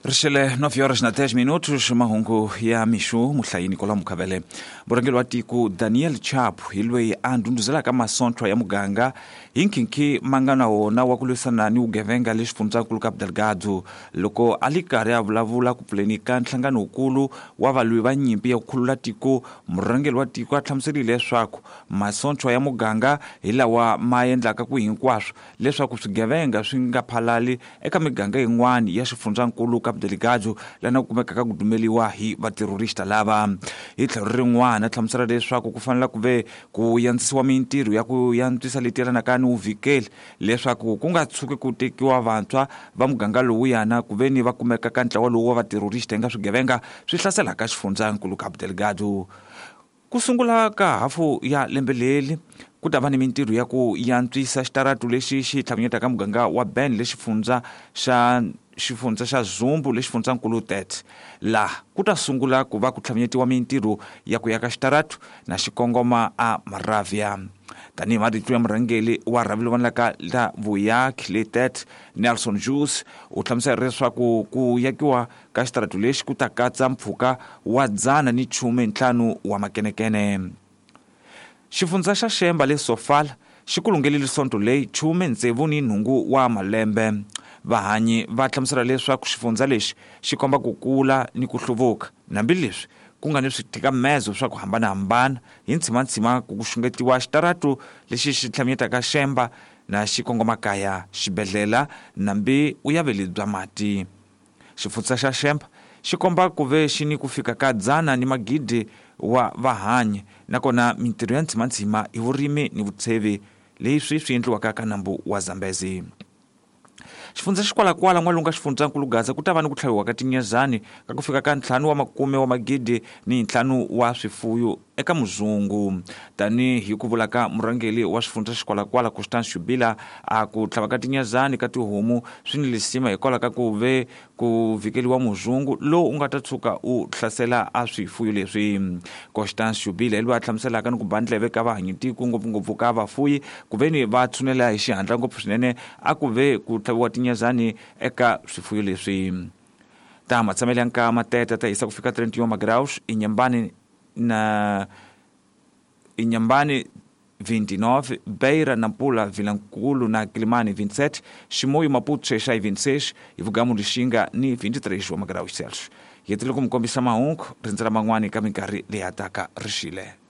Rixele 9 horas na 10 minutos, mahungu ya mixo muhlayi Nicolau Mukhavele. Murhangeri wa tiko Daniel Chapo hi loyi a ndhundhuzelaka masonthwa ya muganga hi nkhinkhi ma nga na wona wa ku lwisana ni vugevenga le xifundzankulu Cabo Delgado. Loko a li karhi a vulavula ku pfuleni ka nhlangano wukulu wa valwi va nyimpi ya ku khulula tiko, murhangeri wa tiko a hlamuserile leswaku masonthwa ya muganga hi lawa ma endlaka ku hinkwaswo leswaku swigevenga swi nga phalali eka miganga yin'wana ya xifundzankulu Cabo Delgado lana ku kumekaka ku dumeliwa hi vaterorista lava. Hi tlhelo rin'wana a hlamusela leswaku ku fanele ku ve ku yandzisiwa mintirho ya ku yantswisa leti yelanaka ni vuvikeli leswaku ku nga tshuki ku tekiwa vantshwa va muganga lowuyana ku ve ni va kumeka ka ntlawa lowu wa vaterorista nga swigevenga swi hlaselaka xifundzankulu Cabo Delgado. Ku sungula ka hafu ya lembe leri ku ta va ni mintirho ya ku yantswisa xitaratu lexi xi tlhavinyetaka muganga wa Ben le xifundza xa xifundza xa Zumbu le xifundzankulu Tete. Laha ku ta sungula ku va ku tlhavinyetiwa mintirho ya ku yaka xitaratu na xikongoma a Maravia. Tanihi marito ya murhangeri wa rhavi lowu vonelaka la vuyaki le Tete, Nelson Juice, u hlamusela leswaku ku yakiwa ka xitaratu lexi ku ta katsa mpfhuka wa 115 wa makenekene. Xifundza xa Xemba le Sofala xi kulungelile sonto leyi 68 wa malembe. Vahanyi va hlamusela leswaku xifundza lexi xi komba ku kula ni ku hluvuka, hambileswi ku nga ni swithikamezo swa ku hambanahambana hi ntshimanthsima ku xungetiwa xitaratu lexi xi tlhaminyetaka Xemba na xikongomakaya, xibedhlela nambi vuyaveli bya mati. Xifundza xa Xemba xi komba ku ve xi ni ku fika ka dzana ni magidi wa vahanyi, nakona mintirho ya ntshimanthsima hi vurimi ni vutshevi leswi swi endliwaka ka nambu wa Zambezi. Xifundza xikwalakwala n'walungu ka xifundzankulu Gaza ku ta va ni ku tlhaviwa ka tinyezani ka ku fika ka 5 wa makume wa magidi ni 5 wa swifuyo eka muzungu. Tanihi ku vula ka murhangeri wa xifundza xikwalakwala Constance Shubila, a ku tlhava ka tinyezani ka tihomu swi ni lisima hikwalaho ka ku ve ku vhikeliwa muzungu lowu u nga ta tshuka u hlasela a swifuyo leswi. Constance Shubila hi loyi a hlamuselaka ni ku ba ndleve ka vahanyitiko ngopfungopfu ka vafuyi ku ve ni va tshunela hi xihatla ngopfu swinene a ku ve ku tlhaviwa tinyezani eka swifuyo leswi. Ta matshamelo ya nkama teta ta hisa ku fika 31 magraus Inhambane na Inhambane 29, Beira, Nampula, Vilankulu na Quilimane 27, Chimoio, Maputo, Xai-Xai 26, Ivugamu, Lixinga ni 23 wa magraus Celsius. Hi hetile ku mi kombisa mahungu, rindzela man'wani ka minkarhi leyi hataka rixile.